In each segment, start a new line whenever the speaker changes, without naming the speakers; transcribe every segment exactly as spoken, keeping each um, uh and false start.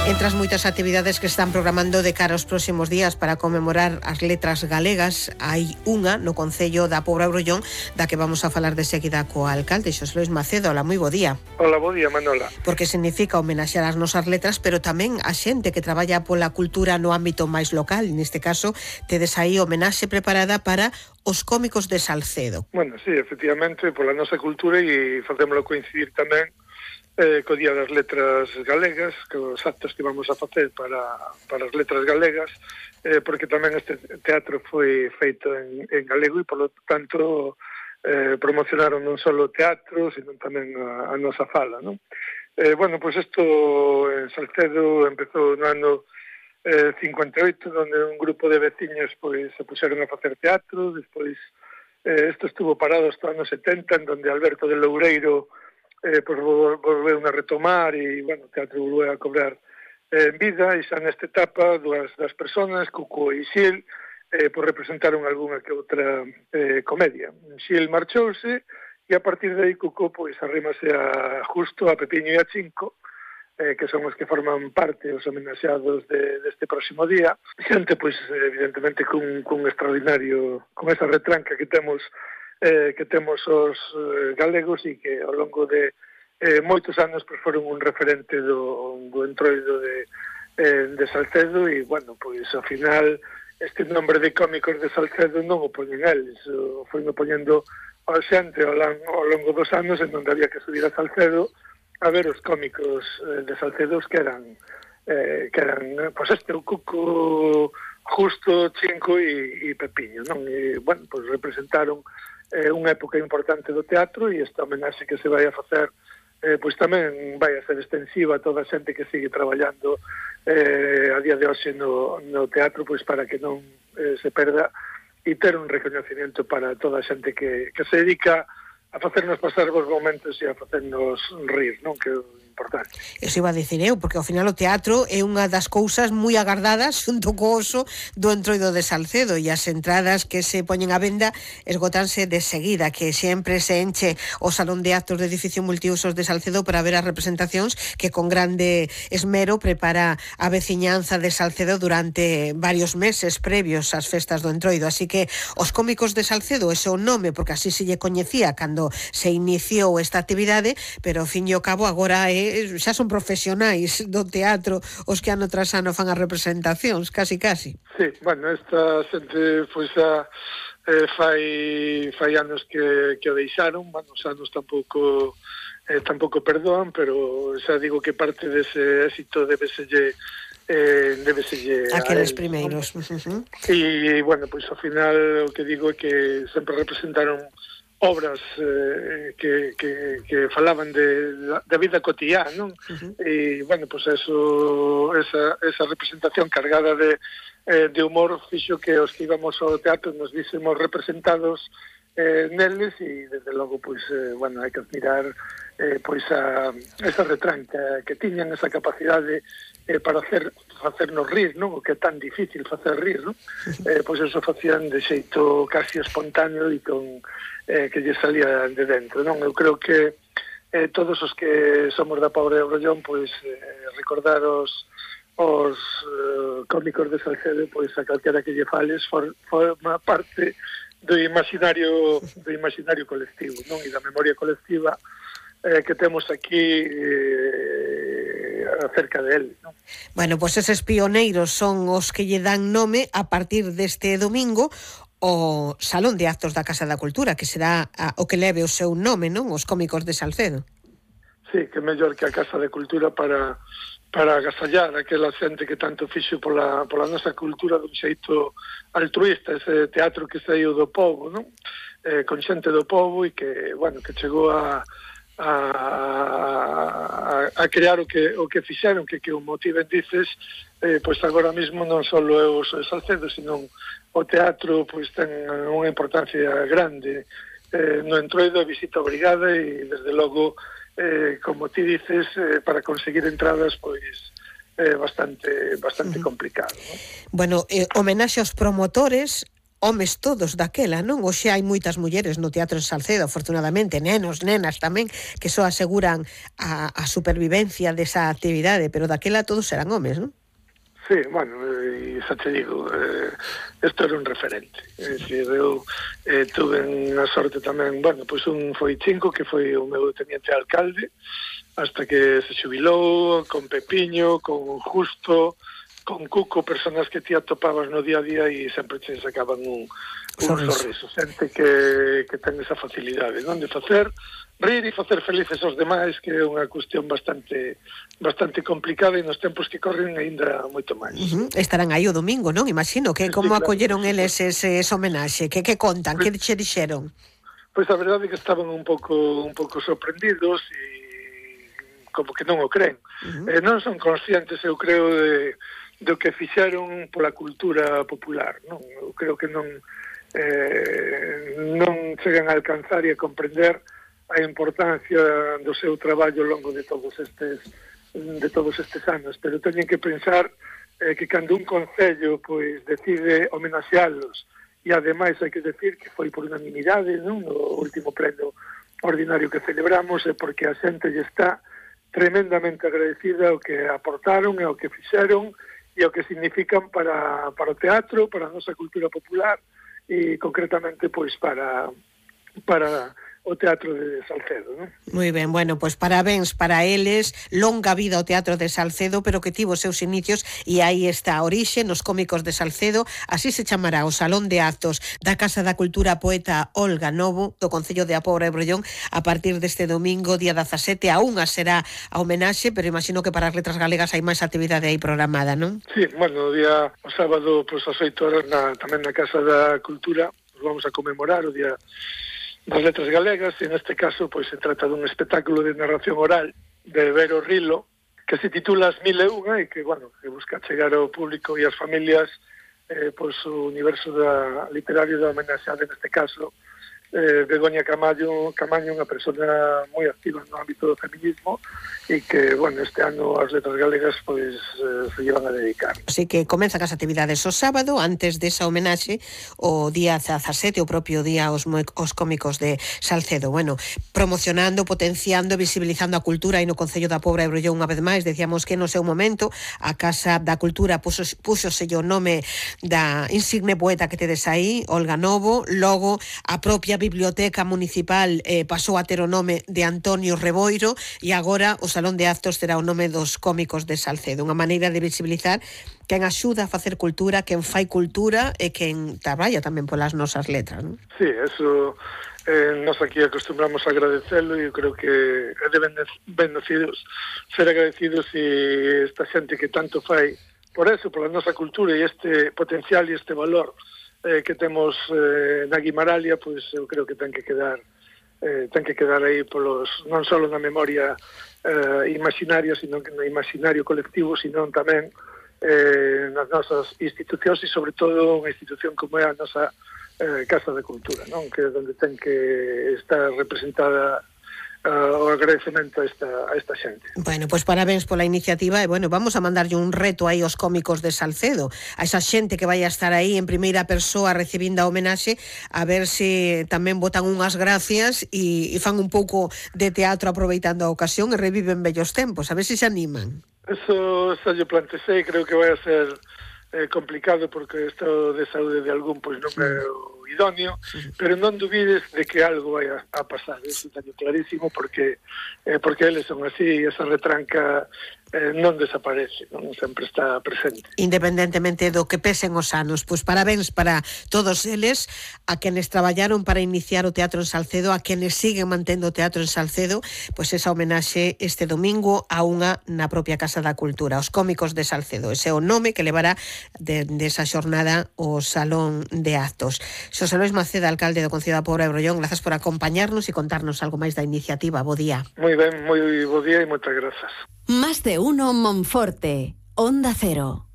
Entre as moitas actividades que están programando de cara aos próximos días para conmemorar as letras galegas, hai unha no Concello da Pobra Brollón, da que vamos a falar de seguida co alcalde, Xosé Luis Macedo. Hola, moi bo día.
Hola, bo día, Manola.
Porque significa homenaxear as nosas letras, pero tamén a xente que traballa pola cultura no ámbito máis local. Neste caso, tedes aí homenaxe preparada para os cómicos de Salcedo.
Bueno, sí, efectivamente, pola nosa cultura e facémolo coincidir tamén eh, co Día das Letras Galegas, que os actos que vamos a facer para, para as letras galegas, eh, porque tamén este teatro foi feito en, en galego e, polo tanto, eh, promocionaron non só o teatro, sino tamén a, a nosa fala, non? Eh, bueno, pois pues isto en Salcedo empezou no ano eh, cincuenta e oito, onde un grupo de veciños pois se puxeron a facer teatro. Despois eh, isto estuvo parado hasta os anos setenta, en donde Alberto de Loureiro eh, pues, volveu a retomar e, bueno, o teatro volveu a cobrar eh, vida, e xa nesta etapa dúas das personas, Cuco e Xil, eh, pues, representaron algunha que outra eh, comedia. Xil marchouse e a partir de aí Cuco pues, arrímase a Justo, a Pepiño e a Chinco, eh, que son os que forman parte os homenaxeados de, deste próximo día. Xente, pois, evidentemente, cun, cun extraordinario, con esa retranca que temos eh, que temos os eh, galegos e que ao longo de eh, moitos anos pues, foron un referente do, do entroido de, eh, de Salcedo e, bueno, pois, ao final, este nombre de cómicos de Salcedo non o poñen eles, o foi no poñendo a xente ao, ao longo dos anos en onde había que subir a Salcedo a ver os cómicos eh, de Salcedo que eran, eh, que eran, pois, este, o Cuco, Justo, Chinco e, e Pepiño, non? E, bueno, pois representaron eh, unha época importante do teatro e esta homenaxe que se vai a facer eh, pois tamén vai a ser extensiva a toda a xente que sigue traballando eh, a día de hoxe no, no teatro, pois para que non eh, se perda e ter un reconocimiento para toda a xente que, que se dedica a facernos pasar bons momentos e a facernos rir, non? Que é importante.
Eso iba a dicir eu, porque ao final o teatro é unha das cousas moi agardadas xunto co oso do entroido de Salcedo, e as entradas que se poñen á venda esgotanse de seguida, que sempre se enche o salón de actos do edificio multiusos de Salcedo para ver as representacións que con grande esmero prepara a veciñanza de Salcedo durante varios meses previos ás festas do entroido. Así que os cómicos de Salcedo, ese é o nome, porque así se lle coñecía cando se iniciou esta actividade, pero ao fin e ao cabo agora é xa son profesionais do teatro os que ano tras ano fan as representacións, casi casi.
Sí, bueno, esta xente foi xa eh, fai fai anos que, que o deixaron, bueno, os anos tampouco eh, tampouco perdoan, pero xa digo que parte dese éxito debeselle eh, debeselle
aqueles primeiros,
¿no?
Uh-huh.
E, bueno, pois ao final o que digo é que sempre representaron obras eh, que, que, que falaban de da vida cotidiana, non? Uh-huh. E, bueno, pois pues eso, esa, esa representación cargada de, eh, de humor fixo que os que íbamos ao teatro nos vísemos representados eh, neles e, desde logo, pois, pues, eh, bueno, hai que admirar eh, pois a, esa retranca que tiñan, esa capacidade eh, para hacer facernos rir, non? O que é tan difícil facer rir, non? Eh, pois eso facían de xeito casi espontáneo e con eh, que lle salía de dentro, non? Eu creo que eh, todos os que somos da Pobra Brollón, pois eh, recordar os os uh, cómicos de Salcedo, pois a calquera que lle fales for, forma parte do imaginario do imaginario colectivo, non? E da memoria colectiva eh, que temos aquí eh, acerca de él, non?
Bueno, pois pues eses pioneiros son os que lle dan nome a partir deste domingo o Salón de Actos da Casa da Cultura, que será a, o que leve o seu nome, non? Os cómicos de Salcedo.
Sí, que mellor que a Casa de Cultura para para agasallar aquela xente que tanto fixo pola, pola nosa cultura dun xeito altruista, ese teatro que saiu do povo, non? Eh, con xente do povo e que, bueno, que chegou a A, a, a crear o que o que fixeron, que que o motiven dices, eh, pois agora mesmo non só é o Salcedo, sino o teatro pois ten unha importancia grande eh, no entroido, a visita obrigada e desde logo eh, como ti dices, eh, para conseguir entradas pois eh, bastante bastante uh-huh. complicado, ¿no?
Bueno, eh, homenaxe aos promotores, homes todos daquela, non? Hoxe hai moitas mulleres no Teatro en Salcedo, afortunadamente, nenos, nenas tamén, que só aseguran a, a supervivencia desa actividade, pero daquela todos eran homes, non?
Sí, bueno, e xa te digo, eh, isto era un referente. É dicir, eu eh, tuve a sorte tamén, bueno, pois un foi Chinco, que foi o meu teniente alcalde, hasta que se xubilou, con Pepiño, con Justo, con Cuco, personas que ti atopabas no día a día e sempre te sacaban un, un sorriso. sorriso. Xente que, que ten esa facilidade, non? De facer rir e facer felices aos demais, que é unha cuestión bastante bastante complicada e nos tempos que corren aínda moito máis.
Uh -huh. Estarán aí o domingo, non? Imagino que como sí, claro, acolleron sí, eles ese, ese homenaxe, que que contan, pues, que che dixeron?
Pois a verdade é que estaban un pouco un pouco sorprendidos e como que non o creen. Uh -huh. eh, non son conscientes, eu creo, de, do que fixeron pola cultura popular, non? Eu creo que non eh, non chegan a alcanzar e a comprender a importancia do seu traballo ao longo de todos estes de todos estes anos, pero teñen que pensar eh, que cando un concello pois decide homenaxealos e ademais hai que decir que foi por unanimidade, non? No último pleno ordinario que celebramos, é porque a xente lle está tremendamente agradecida ao que aportaron e ao que fixeron e ao que significan para, para o teatro, para a nosa cultura popular e concretamente pois para para o Teatro de Salcedo, non?
Moi ben, bueno, pois parabéns para eles, longa vida ao Teatro de Salcedo, pero que tivo seus inicios e aí está a orixe nos cómicos de Salcedo, así se chamará o Salón de Actos da Casa da Cultura Poeta Olga Novo, do Concello de A Pobra e Brollón, a partir deste domingo, día dezasete, a unha será a homenaxe, pero imagino que para as letras galegas hai máis actividade aí programada, non?
Sí, bueno, o día, o sábado, pois as oito horas, na, tamén na Casa da Cultura, vamos a conmemorar o día das letras galegas, e neste caso pois se trata dun espectáculo de narración oral de Vero Rilo, que se titula As Mil e Unha e que, bueno, que busca chegar ao público e ás familias eh, pois o universo da, literario da homenaxeada, neste caso eh, Begoña Camaño, Camaño, unha persona moi activa no ámbito do feminismo e que, bueno, este ano as letras galegas pois eh, se llevan a dedicar.
Así que comenzan as actividades o sábado, antes desa homenaxe, o día dezasete, o propio día aos, aos cómicos de Salcedo. Bueno, promocionando, potenciando, visibilizando a cultura aí no Concello da Pobra e Brollón unha vez máis. Decíamos que no seu momento a Casa da Cultura puso, púxose o nome da insigne poeta que tedes aí, Olga Novo, logo a propia Biblioteca Municipal eh, pasou a ter o nome de Antonio Reboiro e agora o Salón de Actos terá o nome dos cómicos de Salcedo, unha maneira de visibilizar quen axuda a facer cultura, quen fai cultura e quen traballa tamén polas nosas letras, non?
Sí, eso eh, nos aquí acostumbramos a agradecelo e eu creo que é de bendecidos ser agradecidos e esta xente que tanto fai por eso, pola nosa cultura e este potencial e este valor eh, que temos eh, na Guimaralia, pois eu creo que ten que quedar eh, ten que quedar aí polos, non só na memoria eh, imaginaria, sino que no imaginario colectivo, sino tamén eh, nas nosas institucións e sobre todo unha institución como é a nosa eh, Casa de Cultura, non? Que é onde ten que estar representada Uh, o agradecemento a esta, a esta xente.
Bueno, pois pues parabéns pola iniciativa e, bueno, vamos a mandarlle un reto aí aos cómicos de Salcedo, a esa xente que vai a estar aí en primeira persoa recibindo a homenaxe, a ver se tamén botan unhas gracias e, e fan un pouco de teatro aproveitando a ocasión e reviven vellos tempos, a ver se se animan.
Eso xa yo plantexei, creo que vai a ser eh, complicado porque o estado de saúde de algún pois non é o idóneo, pero non dubides de que algo vai a, a pasar, eso teño clarísimo, porque eh, porque eles son así, esa retranca eh, non desaparece, non sempre está presente.
Independentemente do que pesen os anos, pois parabéns para todos eles, a quenes traballaron para iniciar o Teatro en Salcedo, a quenes siguen mantendo o Teatro en Salcedo, pois esa homenaxe este domingo a unha na propia Casa da Cultura, os cómicos de Salcedo, ese é o nome que levará de, de esa xornada o Salón de Actos. Xosé Luis Maceda, alcalde do Concello da Pobra e Brollón, grazas por acompañarnos e contarnos algo máis da iniciativa. Bo día.
Moi ben, moi bo día e moitas grazas.
Más de uno Monforte, Onda Cero.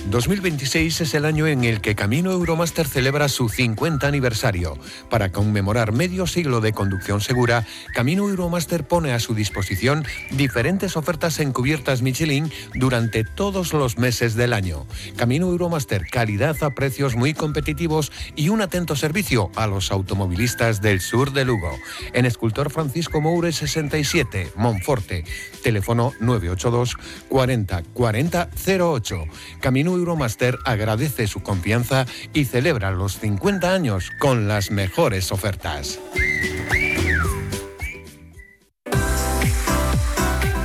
dos mil veintiséis es el año en el que Camino Euromaster celebra su cincuenta aniversario. Para conmemorar medio siglo de conducción segura, Camino Euromaster pone a su disposición diferentes ofertas en cubiertas Michelin durante todos los meses del año. Camino Euromaster, calidad a precios muy competitivos y un atento servicio a los automovilistas del sur de Lugo. En Escultor Francisco Moure sesenta y siete, Monforte. Teléfono nueve ocho dos cuarenta cuarenta cero ocho. Camino Euromaster agradece su confianza y celebra los cincuenta años con las mejores ofertas.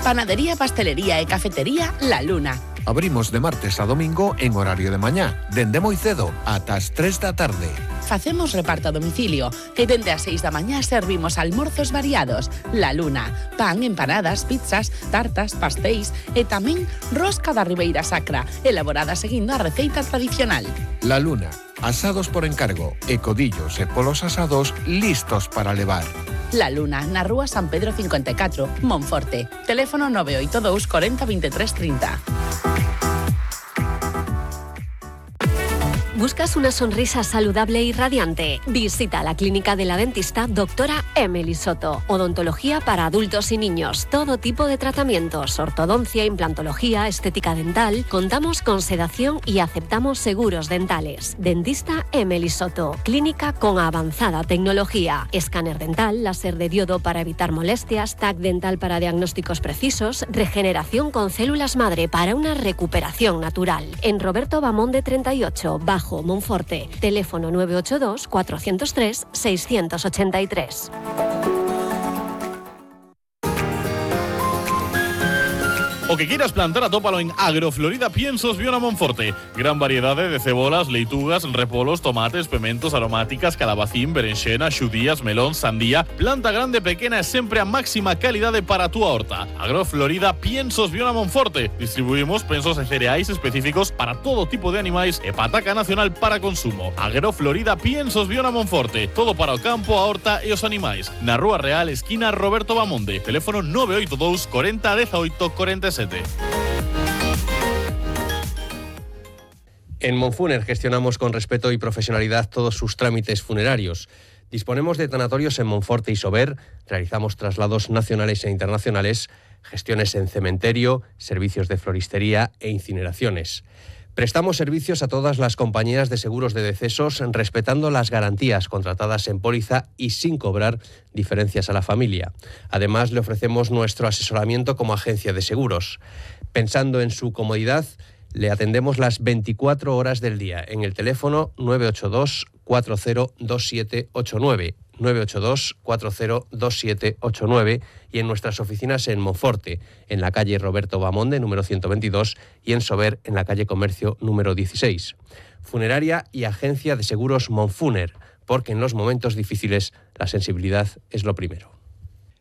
Panadería, pastelería e cafetería La Luna.
Abrimos de martes a domingo en horario de mañá, dende moi cedo ata as tres da tarde.
Facemos reparto a domicilio e dende as seis da mañá servimos almorzos variados. La Luna, pan, empanadas, pizzas, tartas, pastéis e tamén rosca da Ribeira Sacra, elaborada seguindo a receita tradicional.
La Luna, asados por encargo e codillos e polos asados listos para levar.
La Luna, na rúa San Pedro cincuenta e catro, Monforte. Teléfono nueve ocho dos cuarenta veintitrés treinta.
¿Buscas una sonrisa saludable y radiante? Visita la clínica de la dentista doctora Emily Soto. Odontología para adultos y niños. Todo tipo de tratamientos. Ortodoncia, implantología, estética dental. Contamos con sedación y aceptamos seguros dentales. Dentista Emily Soto. Clínica con avanzada tecnología. Escáner dental, láser de diodo para evitar molestias, T A C dental para diagnósticos precisos, regeneración con células madre para una recuperación natural. En Roberto Bamonde treinta y ocho, bajo Monforte. Teléfono nueve ocho dos cuatro cero tres seis ocho tres.
O que quieras plantar, atópalo en Agroflorida Piensos Viona Monforte. Gran variedad de cebolas, leitugas, repolos, tomates, pementos, aromáticas, calabacín, berenxena, xudías, melón, sandía. Planta grande, pequena e sempre a máxima calidade para a túa horta. Agroflorida Piensos Viona Monforte. Distribuimos pensos e cereais específicos para todo tipo de animais e pataca nacional para consumo. Agroflorida Piensos Viona Monforte. Todo para o campo, a horta e os animais. Na Rúa Real, esquina Roberto Bamonde. Teléfono nueve ocho dos cuarenta dieciocho cuarenta y siete.
En Monfuner gestionamos con respeto y profesionalidad todos sus trámites funerarios. Disponemos de tanatorios en Monforte y Sober, realizamos traslados nacionales e internacionales, gestiones en cementerio, servicios de floristería e incineraciones. Prestamos servicios a todas las compañías de seguros de decesos, respetando las garantías contratadas en póliza y sin cobrar diferencias a la familia. Además, le ofrecemos nuestro asesoramiento como agencia de seguros. Pensando en su comodidad, le atendemos las veinticuatro horas del día en el teléfono nueve ocho dos cuatro cero dos siete ocho nueve, nueve ocho dos cuatro cero dos siete ocho nueve y en nuestras oficinas en Monforte, en la calle Roberto Bamonde, número ciento veintidós, y en Sober, en la calle Comercio, número dieciséis. Funeraria y agencia de seguros Monfuner, porque en los momentos difíciles la sensibilidad es lo primero.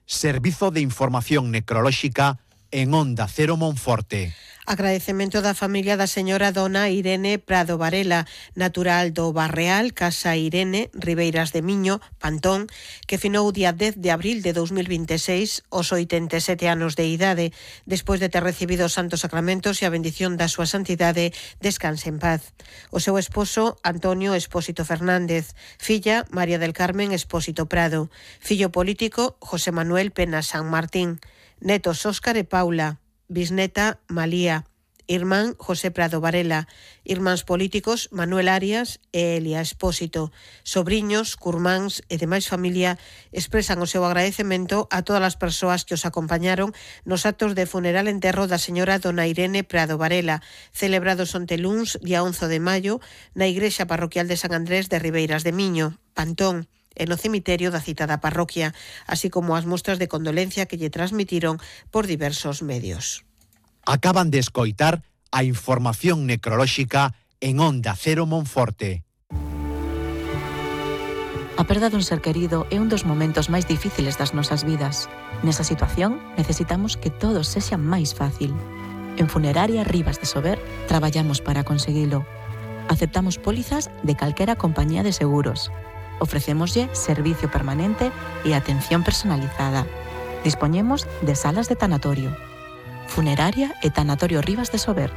Servizo de Información Necrolóxica en Onda Cero Monforte.
Agradecemento da familia da señora dona Irene Prado Varela, natural do Barreal, Casa Irene, Ribeiras de Miño, Pantón, que finou o día dez de abril de dos mil veintiséis aos oitenta e sete anos de idade, despois de ter recibido os santos sacramentos e a bendición da súa santidade, descanse en paz. O seu esposo, Antonio Espósito Fernández, filla, María del Carmen Espósito Prado, fillo político, José Manuel Pena San Martín, netos Óscar e Paula, bisneta Malía, irmán José Prado Varela, irmáns políticos Manuel Arias e Elia Espósito, sobriños, curmáns e demais familia expresan o seu agradecemento a todas as persoas que os acompañaron nos actos de funeral enterro da señora dona Irene Prado Varela, celebrados onte luns, día once de maio, na igrexa parroquial de San Andrés de Ribeiras de Miño, Pantón, e no cemiterio da citada parroquia, así como as mostras de condolencia que lle transmitiron por diversos medios.
Acaban de escoitar a información necrolóxica en Onda Cero Monforte.
A perda dun ser querido é un dos momentos máis difíciles das nosas vidas. Nesa situación, necesitamos que todo sexa máis fácil. En Funeraria Rivas de Sober traballamos para conseguilo. Aceptamos pólizas de calquera compañía de seguros. Ofrecémoslle servicio permanente e atención personalizada. Dispoñemos de salas de tanatorio. Funeraria e Tanatorio Rivas de Sober.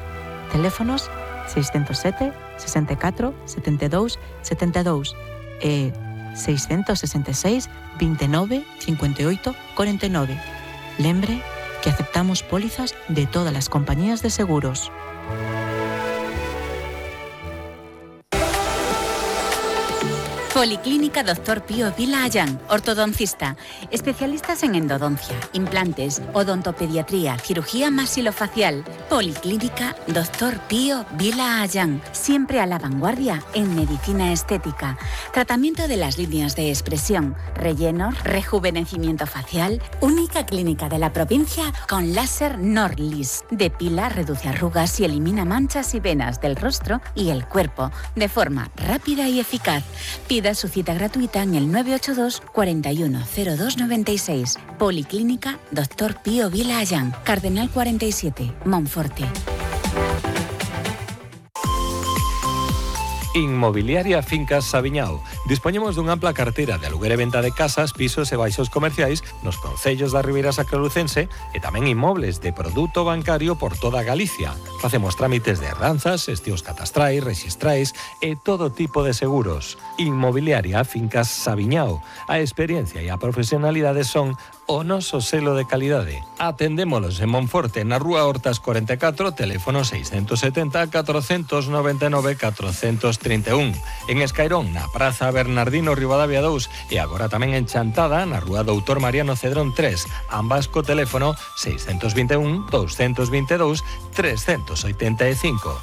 Teléfonos seiscentos sete, sesenta e catro, setenta e dous, setenta e dous e seiscentos sesenta e seis, vinte e nove, cincuenta e oito, cuarenta e nove. Lembre que aceptamos pólizas de todas las compañías de seguros.
Policlínica doctor Pío Vila Ayán, ortodoncista. Especialistas en endodoncia, implantes, odontopediatría, cirugía maxilofacial. Policlínica doctor Pío Vila Ayán. Siempre a la vanguardia en medicina estética. Tratamiento de las líneas de expresión, rellenos, rejuvenecimiento facial. Única clínica de la provincia con láser Norlis. Depila, reduce arrugas y elimina manchas y venas del rostro y el cuerpo de forma rápida y eficaz. Pida su cita gratuita en el nueve ocho dos, cuarenta y uno, cero dos noventa y seis. Policlínica doctor Pío Vila Ayán, Cardenal cuarenta y siete, Monforte.
Inmobiliaria Fincas Sabiñao. Dispoñemos dunha ampla carteira de aluguer e venta de casas, pisos e baixos comerciais nos concellos da Ribeira Sacralucense e tamén inmobles de produto bancario por toda Galicia. Facemos trámites de herdanzas, estios catastrais, rexistrais e todo tipo de seguros. Inmobiliaria Fincas Sabiñao. A experiencia e a profesionalidade son o noso selo de calidade. Atendémolos en Monforte, na Rúa Hortas cuarenta e catro, teléfono seiscentos setenta, cuatrocientos noventa e nove, cuatrocientos trinta e un. En Escairón, na Praza Bernardino Rivadavia dous e agora tamén en Chantada, na Rúa Doutor Mariano Cedrón tres, ambas co teléfono seiscentos vinte e un, doscientos veinte e dous, trescientos oitenta e cinco.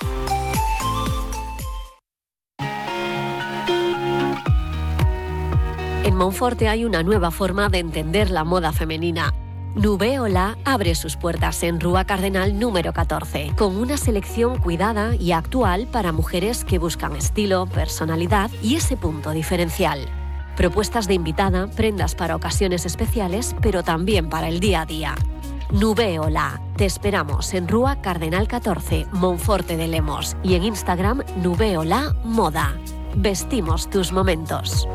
En Monforte hay una nueva forma de entender la moda femenina. Nubeola abre sus puertas en Rúa Cardenal número catorce, con una selección cuidada y actual para mujeres que buscan estilo, personalidad y ese punto diferencial. Propuestas de invitada, prendas para ocasiones especiales, pero también para el día a día. Nubeola. Te esperamos en Rúa Cardenal catorce, Monforte de Lemos, y en Instagram Nubeola Moda. Vestimos tus momentos.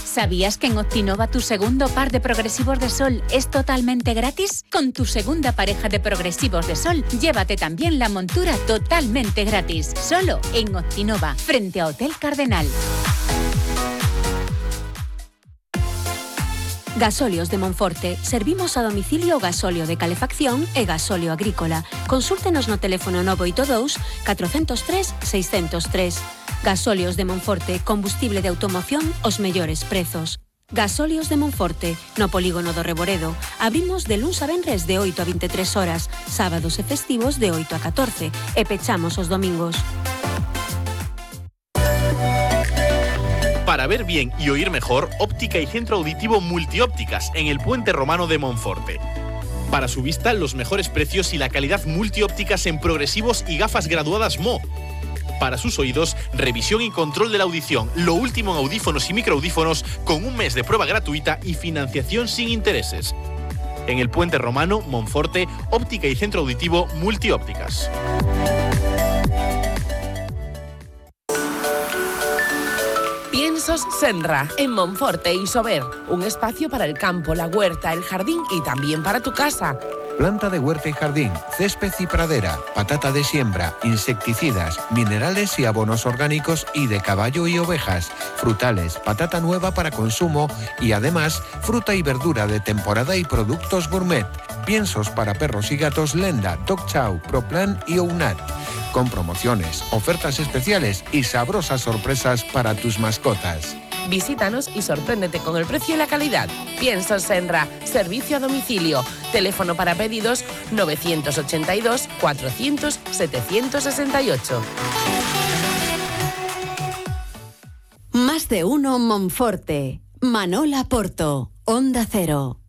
¿Sabías que en Optinova tu segundo par de progresivos de sol es totalmente gratis? Con tu segunda pareja de progresivos de sol, llévate también la montura totalmente gratis. Solo en Optinova, frente a Hotel Cardenal.
Gasóleos de Monforte. Servimos a domicilio gasóleo de calefacción e gasóleo agrícola. Consúltenos no teléfono nueve ocho dos, cuatro cero tres, seis cero tres. Gasóleos de Monforte. Combustible de automoción os mellores prezos. Gasóleos de Monforte. No polígono do Reboredo. Abrimos de luns a venres de oito a veintitrés horas. Sábados e festivos de oito a catorce. E pechamos os domingos.
Para ver bien y oír mejor, óptica y centro auditivo Multiópticas en el Puente Romano de Monforte. Para su vista, los mejores precios y la calidad Multiópticas en progresivos y gafas graduadas M O. Para sus oídos, revisión y control de la audición, lo último en audífonos y microaudífonos con un mes de prueba gratuita y financiación sin intereses. En el Puente Romano, Monforte, óptica y centro auditivo Multiópticas.
Piensos Senra, en Monforte y Sober. Un espacio para el campo, la huerta, el jardín y también para tu casa.
Planta de huerta y jardín, césped y pradera, patata de siembra, insecticidas, minerales y abonos orgánicos y de caballo y ovejas, frutales, patata nueva para consumo y además fruta y verdura de temporada y productos gourmet. Piensos para perros y gatos Lenda, Dog Chow, Proplan y Ounat. Con promociones, ofertas especiales y sabrosas sorpresas para tus mascotas.
Visítanos y sorpréndete con el precio y la calidad. Piensos Senra, servicio a domicilio. Teléfono para pedidos nueve ochenta y dos, cuatrocientos, setecientos sesenta y ocho.
Más de uno Monforte. Manola Porto, Onda Cero.